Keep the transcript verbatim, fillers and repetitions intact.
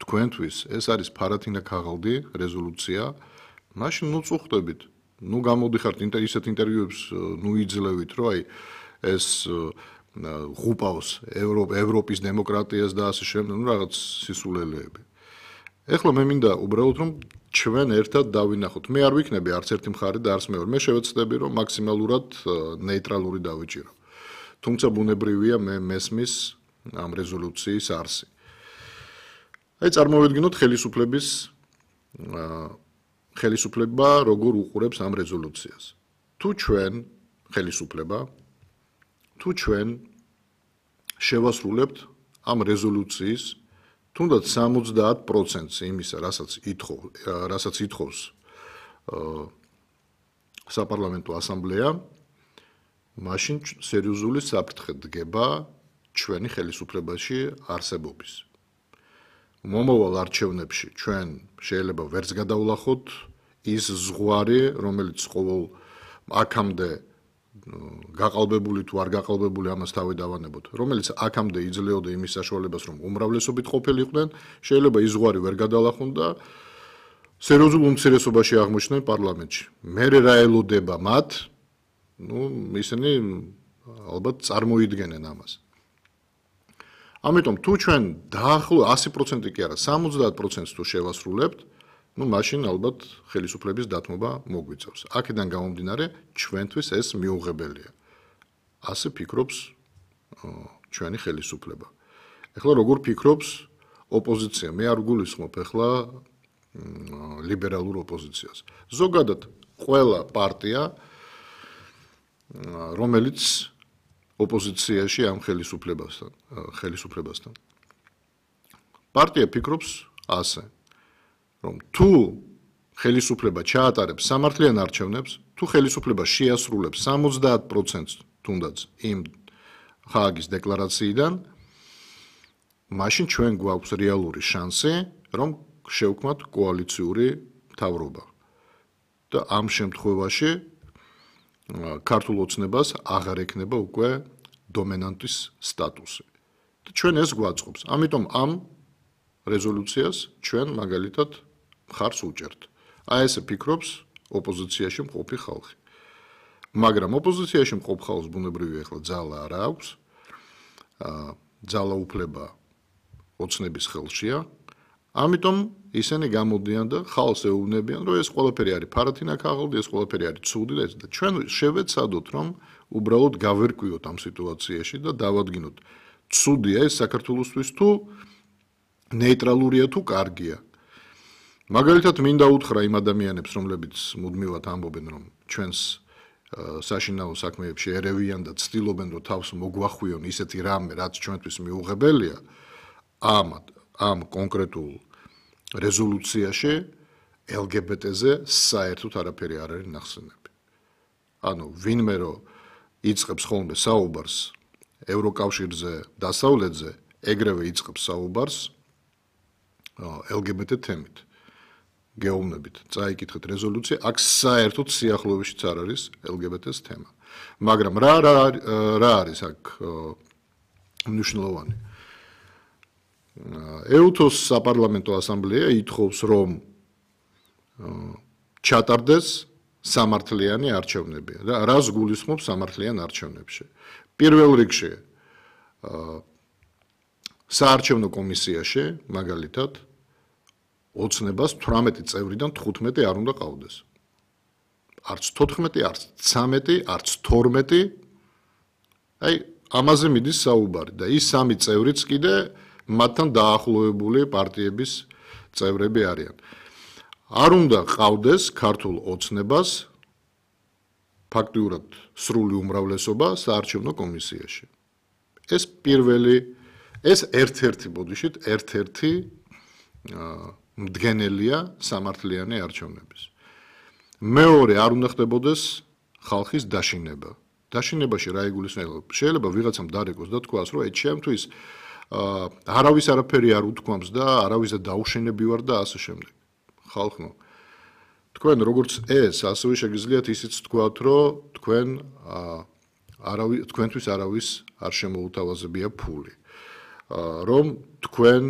თქვენთვის ეს არის ფარათინა ქაღალდი რეზოლუცია, მაშინ ნუ წუხდებით. ნუ გამოდიხართ ისეთ ინტერვიუებს ნუ იძლევით, რომ აი ეს ღუპავს ევროპის დემოკრატიას და ასე შემდეგ, ნუ რაღაც სისულელეები. ეხლა მე მინდა უბრალოდ რომ ჩვენ ერთად დავინახოთ. მე არ ვიქნები არც ერთი მხარე და არც მეორე. მე შევეცდები რომ მაქსიმალურად ნეიტრალური დავიჭირო. თუმცა ბუნებრივია მე მესმის ამ რეზოლუციის არსი. აი წარმოვიდგინოთ ხელისუფლების ხელისუფლება როგორ უყურებს ამ რეზოლუციას. თუ ჩვენ ხელისუფლება თუ ჩვენ შევასრულებთ ამ რეზოლუციის თუნდაც სამოცდაათ პროცენტს იმისა, რასაც ითხოვ, რასაც ითხოვს საპარლამენტო ასამბლეა, მაშინ სერიოზული საფრთხე დგება ჩვენი ხელისუფლებაში არსებობის. მომავალ არჩევნებში ჩვენ შეიძლება ვერც გადავლახოთ ის ზღვარი, რომელიც ყოველ აქამდე გაყალბებული თუ არ გაყალბებული ამას თავი დავანებოთ, რომელიც აქამდე იძლეოდა იმის საშუალებას, რომ უმრავლესობით ყოფილიყვნენ, შეიძლება ის ზღვარი ვერ გადალახონ და სერიოზულ უმცირესობაში აღმოჩნდნენ პარლამენტში. მერე რა ელოდება მათ, ну, ისინი ალბათ წარმოიდგენენ ამას. ამიტომ თუ ჩვენ დაახლოებით ასი პროცენტი კი არა, სამოცდაათ პროცენტს თუ შევასრულებთ, ну, მაშინ ალბათ ხელისუფლების დათმობა მოგვიწევს. აქედან გამომდინარე, ჩვენთვის ეს მიუღებელია. ასე ფიქრობს ჩვენი ხელისუფლება. ეხლა როგორ ფიქრობს ოპოზიცია? მე არ გულისხმობ ეხლა ლიბერალურ ოპოზიციას. ზოგადად ყველა პარტია, რომელიც ოპოზიციაში ამ ხელისუფლებასთან, ხელისუფლებასთან. პარტია ფიქრობს ასე, რომ თუ ხელისუფლება ჩაატარებს სამართლიან არჩევნებს, თუ ხელისუფლება შეასრულებს სამოცდაათ პროცენტს თუნდაც იმ ხააგის დეკლარაციიდან, მაშინ ჩვენ გვაქვს რეალური შანსი, რომ შევქმნათ კოალიციური მთავრობა. და ამ შემთხვევაში ქართულ ოცნებას აღარ ექნება უკვე დომინანტის სტატუსი. და ჩვენ ეს გვაწყობს. ამიტომ ამ რეზოლუციას ჩვენ მაგალითად მხარს უჭერთ. აი ესე ფიქრობს ოპოზიციაში მყოფი ხალხი. მაგრამ ოპოზიციაში მყოფ ხალხს ბუნებრივია ახლა ძალა არ აქვს. ძალა უფლება ოცნების ხელშია. ამიტომ ისინი გამოდიან და ხალხს ეუბნებიან, რომ ეს ყველაფერი არის ფარათინა ქაღალდი, ეს ყველაფერი არის ცუდი და ჩვენ შევეცადოთ, რომ უბრალოდ გავერკვიოთ ამ სიტუაციაში და დავადგინოთ, ცუდია ეს საქართველოსთვის თუ ნეიტრალურია თუ კარგია. მაგალითად მინდა უთხრა იმ ადამიანებს, რომლებიც მუდმივად ამბობენ, რომ ჩვენს საშინაო საქმეებში ერევიან და ცდილობენ, რომ თავს მოგვახვიონ ისეთი რამე, რაც ჩვენთვის მიუღებელია, ამ ამ კონკრეტულ რეზოლუციაში ელ გი ბი ტე-ზე საერთოდ არაფერი არ არის ნახსენები. ანუ ვინმე რომ იწყებს ხოლმე საუბარს ევროკავშირზე, დასავლეთზე, ეგრევე იწყებს საუბარს ელ გი ბი ტე თემით. გეუბნებით, წაიკითხეთ რეზოლუცია, აქ საერთოდ სიახლოვეშიც არ არის ელ გი ბი ტე-ს თემა. მაგრამ რა რა არის აქ მნიშვნელოვანი? ე უ თოს საპარლამენტო ასამბლეა ითხოვს, რომ ჩატარდეს სამართლიანი არჩევნები. რას გულისხმობს სამართლიან არჩევნებში? პირველ რიგში საარჩევნო კომისიაში, მაგალითად, ოცნებას თვრამეტი წევრიდან თხუთმეტი არ უნდა ყავდეს. არც თოთხმეტი, არც ცამეტი, არც თორმეტი. აი, ამაზე მიდის საუბარი და ის სამი წევრიც კიდე მათთან დაახლოებული პარტიების წევრები არიან. არ უნდა ყავდეს ქართულ ოცნებას ფაქტიურად სრული უმრავლესობა საარჩევნო კომისიაში. ეს პირველი, ეს ერთ-ერთი ბოდიშით, ერთ-ერთი მდგენელია სამართლიანი არჩევნების. მეორე, არ უნდა ხდებოდეს ხალხის დაშინება. დაშინებაში რა იგულისხმება? შეიძლება ვიღაცამ დარეკოს და თქვას, რომ ეს ჩემთვის არავის არაფერი არ უთქვამს და არავის დაუშენები ვარ და ასე შემდეგ. ხალხო, თქვენ როგორც ეს, ასევე შეგიძლიათ ისიც თქვათ, რომ თქვენ არავის თქვენთვის არავის არ შემოუთავაზებია ფული. რომ თქვენ